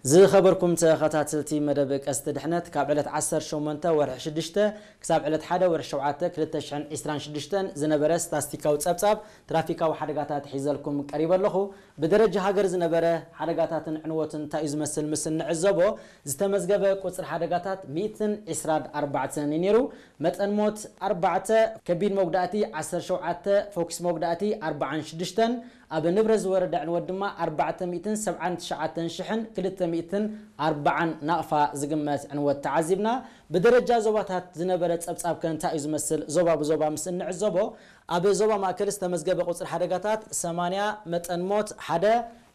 ዝኸበርኩም ተኸታተልቲ መደብ ቀስቲ ድሕነት፣ ካብ ዕለት ዓሰርተ ሸሞንተ ወርሒ ሽዱሽተ ክሳብ ዕለት ሓደ ወርሒ ሸውዓተ ክልተ ሽሕን ዕስራን ሽዱሽተን ዝነበረ ስታስቲካዊ ጸብጻብ ትራፊካዊ ሓደጋታት ሒዘልኩም ቀሪበ ኣለኹ። ብደረጃ ሃገር ዝነበረ ሓደጋታትን ዕንወትን እንታይ እዩ ዝመስል ምስ እንዕዘቦ፣ ዝተመዝገበ ቁጽሪ ሓደጋታት ሚእትን ዕስራን ኣርባዕተን እዩ ነይሩ። መጠን ሞት ኣርባዕተ፣ ከቢድ መጉዳእቲ ዓሰርተ ሸውዓተ፣ ፎክስ መጉዳእቲ ኣርባዓን ሽዱሽተን፣ ኣብ ንብረት ዝወረደ ዕንወት ድማ ኣርባዕተ ሚእትን ሰብዓን ትሽዓተን ሽሕን ክልተ ሚእትን ኣርባዓን ናቕፋ ዝግመት ዕንወት ተዓዚብና። ብደረጃ ዞባታት ዝነበረ ጸብጻብ ከ እንታይ እዩ ዝመስል? ዞባ ብዞባ ምስ እንዕዘቦ፣ ኣብ ዞባ ማእከል ዝተመዝገበ ቁጽሪ ሓደጋታት ሰማንያ፣ መጠን ሞት ሓደ፣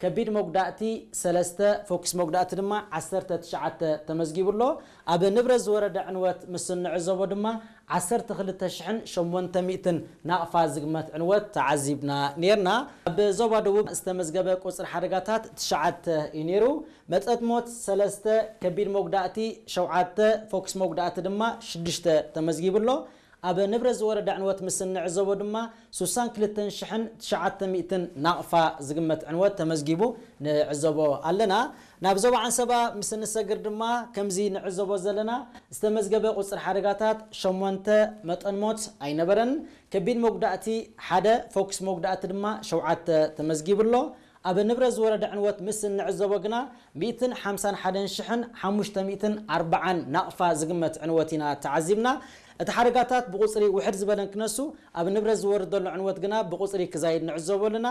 ከቢድ መጉዳእቲ ሰለስተ፣ ፎክስ መጉዳእቲ ድማ ዓሰርተ ትሽዓተ ተመዝጊቡ ኣሎ። ኣብ ንብረት ዝወረደ ዕንወት ምስ እንዕዘቦ ድማ ዓሰርተ ክልተ ሽሕን ሸሞንተ ሚእትን ናቕፋ ዝግመት ዕንወት ተዓዚብና ነይርና። ኣብ ዞባ ደቡብ ዝተመዝገበ ቁጽሪ ሓደጋታት ትሽዓተ እዩ ነይሩ። መጠን ሞት ሰለስተ፣ ከቢድ መጉዳእቲ ሸውዓተ፣ ፎክስ መጉዳእቲ ድማ ሽዱሽተ ተመዝጊቡ ኣሎ። ኣብ ንብረት ዝወረደ ዕንወት ምስ እንዕዘቦ ድማ ስሳን ክልተን ሽሕን ትሽዓተ ሚእትን ናቕፋ ዝግመት ዕንወት ተመዝጊቡ ንዕዘቦ ኣለና። ናብ ዞባ ዓንሰባ ምስ እንሰግር ድማ ከምዚ ንዕዘቦ ዘለና፣ ዝተመዝገበ ቁጽሪ ሓደጋታት ሸሞንተ፣ መጠን ሞት ኣይነበረን። ከቢድ መጉዳእቲ ሓደ፣ ፎክስ መጉዳእቲ ድማ ሸውዓተ ተመዝጊቡ ኣሎ። ኣብ ንብረት ዝወረደ ዕንወት ምስ እንዕዘቦ ግና ሚእትን ሓምሳን ሓደን ሽሕን ሓሙሽተ ሚእትን ኣርባዓን ናቕፋ ዝግመት ዕንወት ኢና ተዓዚብና። እቲ ሓደጋታት ብቁጽሪ ውሕድ ዝበለን ክነሱ፣ ኣብ ንብረት ዝወርድ ዘሎ ዕንወት ግና ብቁጽሪ ክዛይድ ንዕዘቦ ኣለና።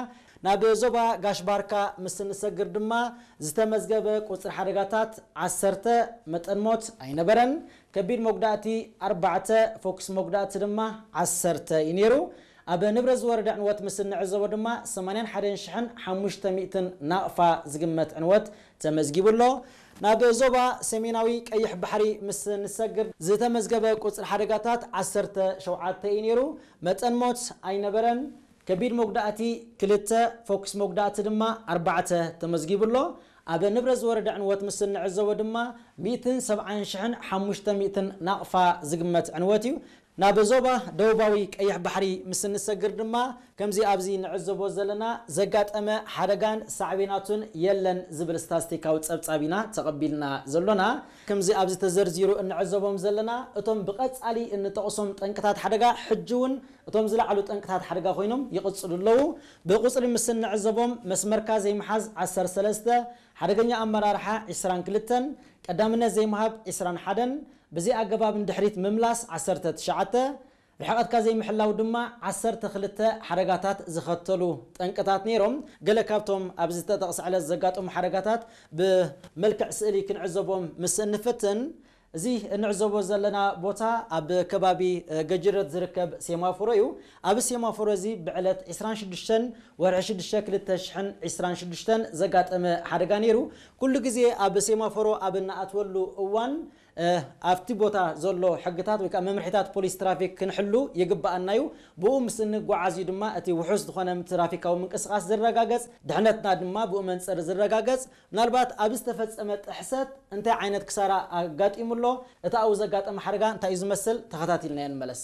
ናብ ዞባ ጋሽ ባርካ ምስ እንሰግር ድማ ዝተመዝገበ ቁጽሪ ሓደጋታት ዓሰርተ፣ መጠን ሞት ኣይነበረን። ከቢድ መጉዳእቲ ኣርባዕተ፣ ፎክስ መጉዳእቲ ድማ ዓሰርተ እዩ ነይሩ። ኣብ ንብረት ዝወረደ ዕንወት ምስ እንዕዘቦ ድማ ሰማንያን ሓደን ሽሕን ሓሙሽተ ሚእትን ናቕፋ ዝግመት ዕንወት ተመዝጊቡ ኣሎ። ናብ ዞባ ሰሜናዊ ቀይሕ ባሕሪ ምስ ንሰግር ዝተመዝገበ ቁጽሪ ሓደጋታት ዓሰርተ ሸውዓተ እዩ ነይሩ። መጠን ሞት ኣይነበረን። ከቢድ መጉዳእቲ ክልተ፣ ፎክስ መጉዳእቲ ድማ ኣርባዕተ ተመዝጊቡ ኣሎ። ኣብ ንብረት ዝወረደ ዕንወት ምስ እንዕዘቦ ድማ ሚእትን ሰብዓን ሽሕን ሓሙሽተ ሚእትን ናቕፋ ዝግመት ዕንወት እዩ። ናብ ዞባ ደቡባዊ ቀይሕ ባሕሪ ምስ እንሰግር ድማ ከምዚ ኣብዚ ንዕዘቦ ዘለና ዘጋጠመ ሓደጋን ሳዕቤናቱን የለን ዝብል ስታስቲካዊ ጸብጻብ ኢና ተቐቢልና ዘሎና። ከምዚ ኣብዚ ተዘርዚሩ እንዕዘቦም ዘለና እቶም ብቐጻሊ እንጠቕሶም ጠንቅታት ሓደጋ ሕጂ እውን እቶም ዝለዓሉ ጠንቅታት ሓደጋ ኮይኖም ይቕጽሉ ኣለዉ። ብቁጽሪ ምስ እንዕዘቦም መስመርካ ዘይምሓዝ ዓሰርተ ሰለስተ፣ ሓደገኛ ኣመራርሓ ዕስራን ክልተን፣ ቀዳምነት ዘይምሃብ ዕስራን ሓደን፣ ብዘይ ኣገባብ ንድሕሪት ምምላስ ዓሰርተ ትሽዓተ፣ ርሕቐትካ ዘይምሕላው ድማ ዓሰርተ ክልተ ሓደጋታት ዝኸተሉ ጠንቅታት ነይሮም። ገለ ካብቶም ኣብዚ ዝተጠቕሰ ዕለት ዘጋጠሙ ሓደጋታት ብመልክዕ ስእሊ ክንዕዘቦም ምስ እንፍትን፣ እዚ እንዕዘቦ ዘለና ቦታ ኣብ ከባቢ፣ እ፣ ገጅረት ዝርከብ ሴማፎሮ እዩ። ኣብ ሴማፎሮ እዚ ብዕለት ዕስራን ሽዱሽተን ወርሒ ሽዱሽተ ክልተ ሽሕን ዕስራን ሽዱሽተን ዘጋጠመ ሓደጋ ነይሩ። ኩሉ ግዜ ኣብ ሴማፎሮ ኣብ እንኣትወሉ እዋን፣ እ፣ ኣብቲ ቦታ ዘሎ ሕግታት ወይ ከዓ መምርሒታት ፖሊስ ትራፊክ ክንሕሉ ይግብኣና እዩ። ብኡ ምስ እንጓዓዝ እዩ ድማ እቲ ውሑስ ዝኾነ ትራፊካዊ ምንቅስቓስ ዝረጋገጽ፣ ድሕነትና ድማ ብኡ መንጽር ዝረጋገጽ። ምናልባት ኣብ ዝተፈጸመ ጥሕሰት እንታይ ዓይነት ክሳራ ኣጋጢሙ ኣሎ? እቲ ኣብኡ ዘጋጠመ ሓደጋ እንታይ እዩ ዝመስል? ተኸታቲልናዮ ንመለስ።